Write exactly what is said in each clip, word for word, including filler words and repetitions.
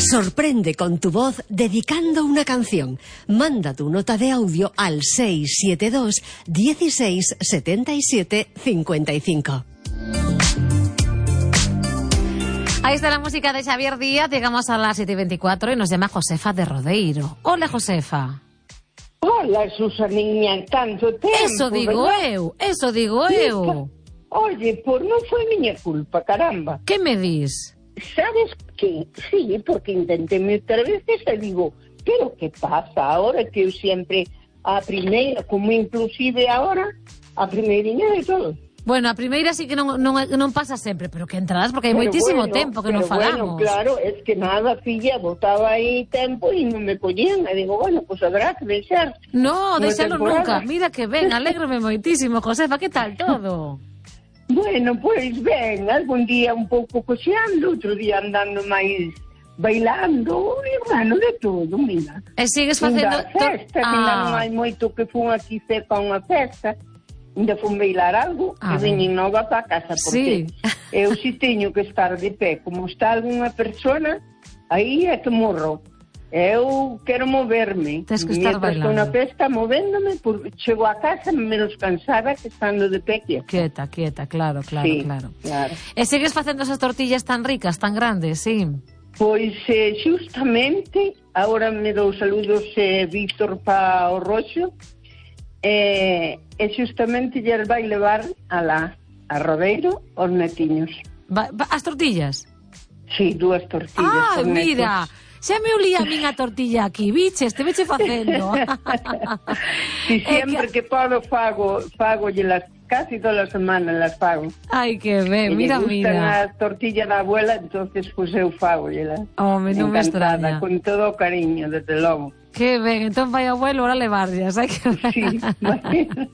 Sorprende con tu voz dedicando una canción. Manda tu nota de audio al seis siete dos, dieciséis, setenta y siete, cincuenta y cinco. Ahí está la música de Xavier Díaz. Llegamos a las siete y veinticuatro y nos llama Josefa de Rodeiro. Hola, Josefa. Hola, Susaniña, tanto tempo. Eso digo ¿verdad? eu, eso digo eu. Oye, pues non foi miña culpa, caramba. Que me dis? ¿Sabes qué? Sí, porque intenté meter veces e digo, pero que pasa ahora que eu sempre a primeira, como inclusive ahora, a primeirinha de todo. Bueno, a primeira sí que non, non, non pasa sempre, pero que entradas porque hai Pero moitísimo bueno, tempo que non pero falamos. Bueno, claro, es que nada, filla, botaba aí tempo e non me collían. E digo, bueno, pues habrá que deixar. No, Unha deixalo temporada. nunca. Mira que ben, alégrome moitísimo, Josefa, que tal todo? Bueno, pois ben, algún día un pouco coxeando, outro día andando máis bailando, e bueno, de todo, mira. E sigues facendo... Ainda a festa, Ah. ainda non hai moito que fun aquí cerca a unha festa, ainda fun bailar algo, Ah, e veñen nova para casa, porque Sí. eu si teño que estar de pé, como está algunha persona, aí é que morro. Eu quero moverme. Tes que estar Mientras estou bailando. na festa movéndome, porque chego a casa menos cansada que estando de pé quieta. Quieta, quieta, claro, claro, Sí, claro. claro. E sigues facendo esas tortillas tan ricas, tan grandes, sí? Pois eh, xustamente, agora me dou saludos eh, Víctor pa o Roxo, eh, e xustamente lle vai levar a la a Rodeiro os netiños. Va, va, as tortillas? Sí, dúas tortillas. Ah, os mira, xa me olía a min a tortilla aquí, biches, te veche facendo. Si É sempre que- que podo fago, fago las casi todas as semanas las fago. Ai, que ben, E mira, lle gustan mira. as tortillas da abuela, entonces pues eu fago las. Home, non me extraña. Con todo o cariño, desde logo. Que ben, entón vai abuelo, ahora levarllas, hai que ver. Sí, bueno,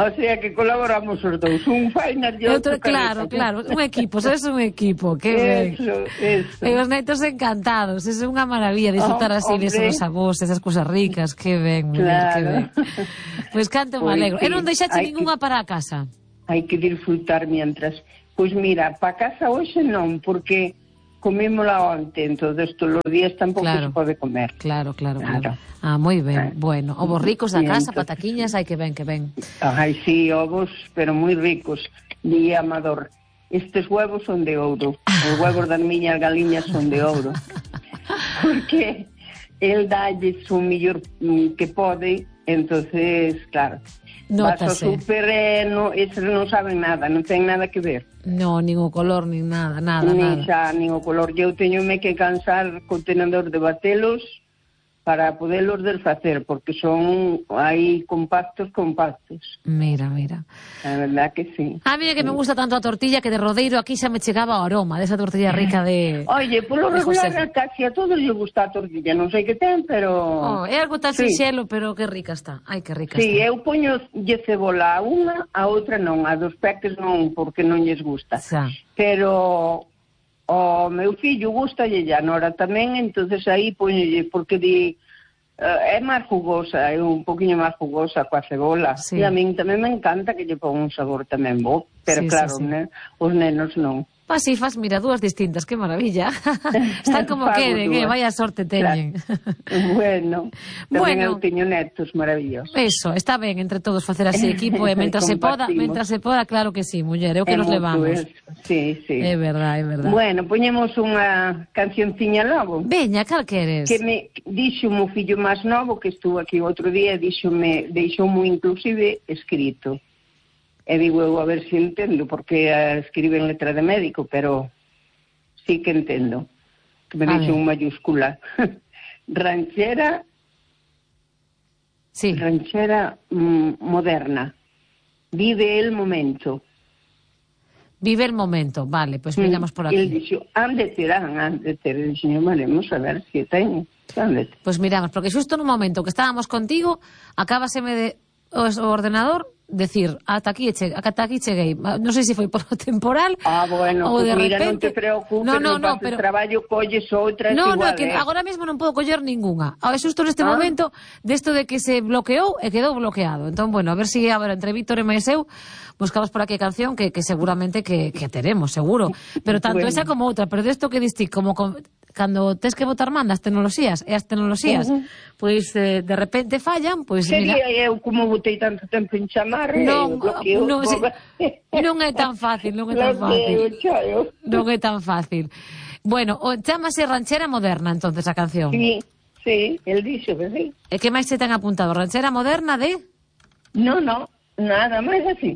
o sea que colaboramos os dous, un fainas e outro, Outro, claro, claro, un equipo, sois un equipo, que ben. Eso, eso. E os netos encantados, é unha maravilla disfrutar Oh, así hombre. desos avós, esas cousas ricas, que ben, muller, que Claro. ben. Pois canto me Pois alegro. E sí, non deixache hai ningunha para a casa? Hai que disfrutar mientras. Pois mira, pa casa hoxe non, porque comímola onte, entonces todos os días tampouco Claro. se pode comer. Claro, claro, claro. Claro. Ah, moi ben, Ah. bueno. Ovos ricos da E casa, entón- pataquiñas, hai que ben, que ben. Ai, sí, ovos, pero moi ricos. Di Amador, estes huevos son de ouro. Os huevos das miñas galiñas son de ouro. Porque el dalles o millor mm, que pode, entonces, claro, vas ao Nótase. super e no, eses non saben nada, non ten nada que ver. No, nin o color, nin nada, nada, Ni nada. xa, nin o color. Eu teñome que cansar co tenedor de batelos para podelos desfacer, porque son aí compactos, compactos. Mira, mira. A verdad que sí. A mí é que me gusta tanto a tortilla que de Rodeiro aquí xa me chegaba o aroma desa tortilla rica de... Oye, polo de regular Josefa. casi a todos les gusta a tortilla, non sei que ten, pero... Oh, é algo tan Sí. sinxelo, pero que rica está. Ai, que rica Sí, está. eu poño lle cebola a unha, a outra non, a dos peques non, porque non lles gusta. Xa. Pero o meu fillo gusta e a Nora tamén, entonces aí poñolle, porque di... Uh, é máis jugosa, é un poquinho máis jugosa coa cebola. Sí. E a min tamén me encanta que lle pon un sabor tamén bo, pero Sí, sí, claro, sí. Ne, os nenos non. Pas si fas, mira, dúas distintas, que maravilla. Están como Fago queren, eh, dúas. vaya sorte teñen. Bueno, tamén Bueno. eu teño netos maravillosos. Eso, está ben entre todos facer así equipo e mentras se poda, Compartimos. mentras se poda, claro que sí, muller, é o que É nos mutuo levamos. eso. Sí, sí. É verdad, é verdad. Bueno, poñemos unha cancionciña logo. Veña, cal queres? Que me dixo o meu fillo máis novo que estuvo aquí outro día, díxome, deixoumo inclusive escrito. E digo eu a ver se entendo, porque uh, escribe en letra de médico, pero sí que entendo. Que me A dixo ver. en mayúscula. Ranchera, Sí. ranchera mm, moderna. Vive el momento. Vive el momento, vale, pois pues miramos por Mm, El aquí. dixo, han de ter, han de ter. E dixo, veremos a ver se ten. Han de ter. Pois pues miramos, porque xusto no momento que estábamos contigo, acábaseme de o, o ordenador decir, ata aquí, che, ata aquí cheguei. Non sei se foi por o temporal Ah, bueno, ou pues de mira, repente... non te preocupes, no, no, no, no, no, pero... traballo colles outras No, igual, no, que eh. agora mesmo non podo coller ningunha. Ahora, xusto neste Ah. momento, desto de que se bloqueou e quedou bloqueado. Entón, bueno, a ver se si, agora entre Víctor e máis eu buscamos por aquí a canción que, que seguramente que, que teremos, seguro. Pero tanto Bueno. esa como outra, pero desto que diste como con, cando tes que botar man das tecnoloxías, e as tecnoloxías, uh -huh. pois eh, de repente fallan, pois Sería mira... eu como botei tanto tempo en chamar, non, bloqueo, non, se, non é tan fácil, non é tan fácil. Non é tan fácil. Bueno, o, chamase Ranchera Moderna, entonces, a canción. Sí, sí, el dixo que sí. E que máis se ten apuntado? Ranchera Moderna de... No, no, nada máis así.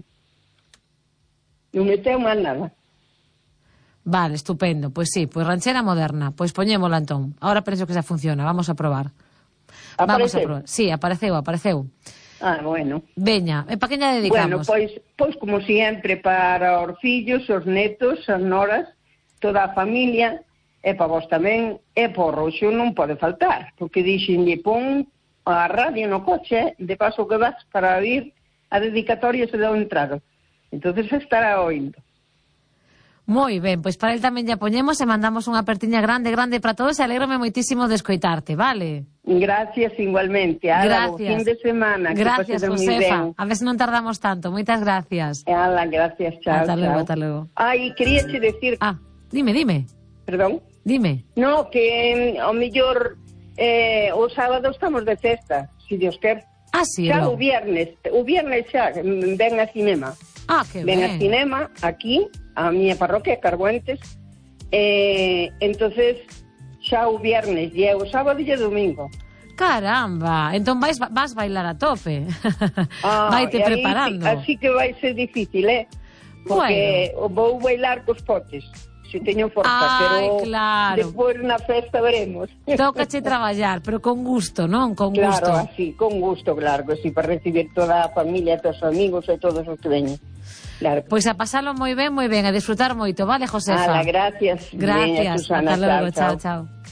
Non meteu máis nada. Vale, estupendo. Pois sí, pois Ranchera Moderna. Pois poñémola entón. Ahora penso que xa funciona, vamos a probar. Apareceu? Vamos a probar. Sí, apareceu, apareceu. Ah, bueno. Veña, e pa que lla dedicamos? Bueno, pois, pois como sempre para os fillos, os netos, as noras, toda a familia, e para vos tamén, e por Roxo non pode faltar, porque dixenlle pon a radio no coche, de paso que vas para vir a dedicatoria se deu entrado. Entonces estará oindo. Moi ben, pois para el tamén lla poñemos e mandamos unha apertiña grande, grande para todos e alégrome moitísimo de escoitarte, vale? Gracias igualmente. Ala, gracias. Fin de semana. Gracias, Josefa. A ver se non tardamos tanto. Moitas gracias. Ala, gracias, chao. Hasta luego, chao. hasta luego. Ai, quería che decir... Ah, dime, dime. Perdón? Dime. No, que ao mellor eh, o sábado estamos de festa, si Dios quer. Ah, sí, xa no. o viernes, o viernes xa ven a cinema. Ah, que ven ben. a cinema aquí, a miña parroquia, Carbuentes. Eh, entonces xa o viernes, e o sábado e o domingo. Caramba, entón vais, vas bailar a tope. Ah, Vaite aí, preparando. Así que vai ser difícil, eh? Porque bueno, vou bailar cos potes, se teño forza, Ai, pero claro. despois na festa veremos. Tócache traballar, pero con gusto, non? Con claro, gusto. Claro, así, con gusto, claro, que sí, para recibir toda a familia, todos os amigos e todos os que veñen. Claro. Pois a pasalo moi ben, moi ben, a disfrutar moito, vale, Josefa? Ala, gracias. Gracias, Veña, Susana, hasta logo, chao, chao, chao.